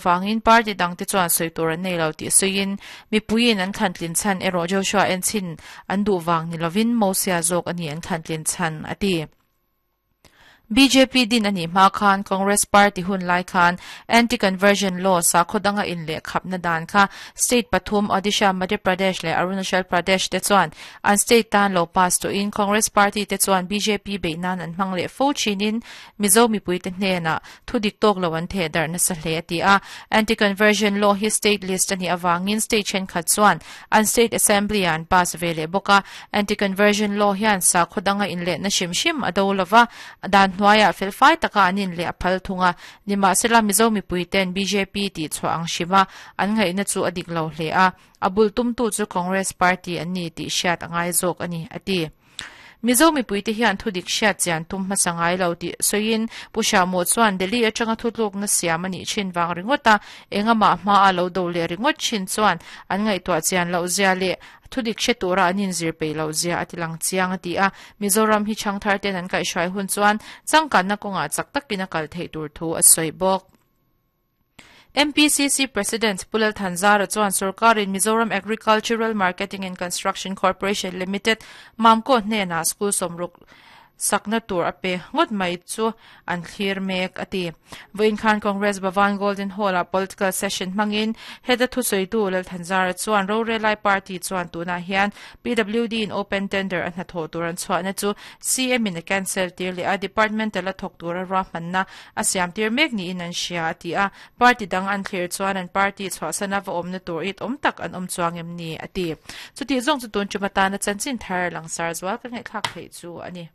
Vangin party dangte chuan sawi tur an nei lo tih sawiin, mipuiin an thlantlin chhan erawh Joshua enchin an duh vang ni lovin Mosia zawk a ni an thlantlin chhan, a ti. Bjp din a nih hma khan Congress party hun lai khan Anti-Conversion Law sakhaw danga inlehkhapna dan kha state pathum Odisha, Madhya Pradesh leh Arunachal Pradesh te chuan an state tan lo pass tawhin Congress party te chuan bjp beih nan an hmang leh fo thinin Mizo mipuite hnenah thu dik tawk lo an theh darh nasa hle a ti a. Anti-conversion law hi state list a nih avangin state thenkhat chuan an state assembly ah an pass ve leh bawk a. Anti-conversion law hian sakhaw danga inlehna hrim hrim a do lova, dan hnuaiah felfai taka an inleh a phal thung a. Nimahsela Mizo mipuiten bjp tih chhuah ang hrima an ngaihna chu a dik lo hle a, a bul tumtu chu Congress party an ni tih hriat a ngai zawk a ni, a ti. Mizo mipuite hian thudik hriat chian tum hmasa ngai lo tih sawiin Pu Hriamawh chuan Delhi atanga thutlukna siam a nih thin vang ringawt a, engamah hmaa lo do leh ringawt thin chuan an ngaihtuah chian loh zia leh thudik hre tura an inzir peih loh zia a ti lang chiang a ti a. Mizoram hi chhangthar ten an kaihhruai hun chuan changkanna kawngah chak takin a kal theih tur thu a sawi bawk. MPCC President Pu Lal Thanzara chuan sorkarin Mizoram Agricultural Marketing and Construction Corporation Limited, Mamco hnenah school sawmruk sakna tur a pe ngawt mai chu an thlir mek a ti. Vawiin khan Congress Bhavan Golden Hall-ah political session hmangin heta thusawitu Lal Thanzara chuan rorelai party chuan tunah hian PWD-in open tender a hnathawh tur an chhuahna chu CM-in a cancel tir leh a, departmental a thawk tura ruahmanna A siam tir mek niin an hria, a ti a. Party dang an thlir chuan an party chhuahsana va awmna tur it awm tak an awm chuang em ni, a ti. Chutih zawng chu tun tum atana chanchin thar langsar zual ka ngaihthlak theih chu a ni.